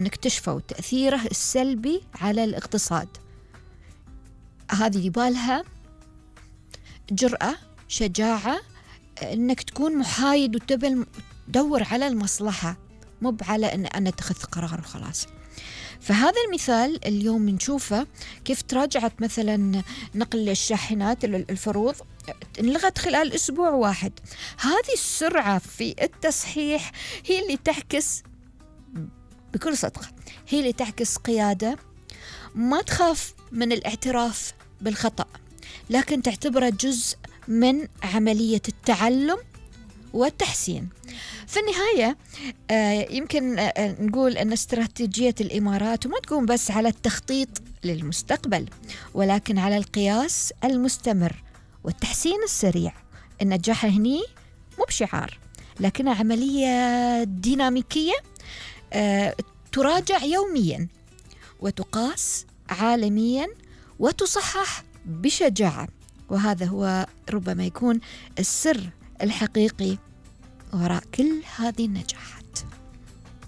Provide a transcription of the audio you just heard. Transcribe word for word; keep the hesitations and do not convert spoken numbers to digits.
نكتشفوا تأثيره السلبي على الاقتصاد. هذه يبالها جرأة، شجاعة، أنك تكون محايد وتبل تدور على المصلحة، مو على أن أنا أتخذ قرار وخلاص. فهذا المثال اليوم نشوفه كيف تراجعت مثلا نقل الشاحنات الفروض انلغت خلال أسبوع واحد. هذه السرعة في التصحيح هي اللي تعكس بكل صدق، هي اللي تعكس قيادة ما تخاف من الاعتراف بالخطأ، لكن تعتبره جزء من عملية التعلم والتحسين. في النهاية آه يمكن آه نقول أن استراتيجية الإمارات ما تقوم بس على التخطيط للمستقبل، ولكن على القياس المستمر والتحسين السريع. النجاح هني مو بشعار، لكنها عملية ديناميكية آه تراجع يوميا وتقاس عالميا وتصحح بشجاعة. وهذا هو ربما يكون السر الحقيقي وراء كل هذه النجاحات.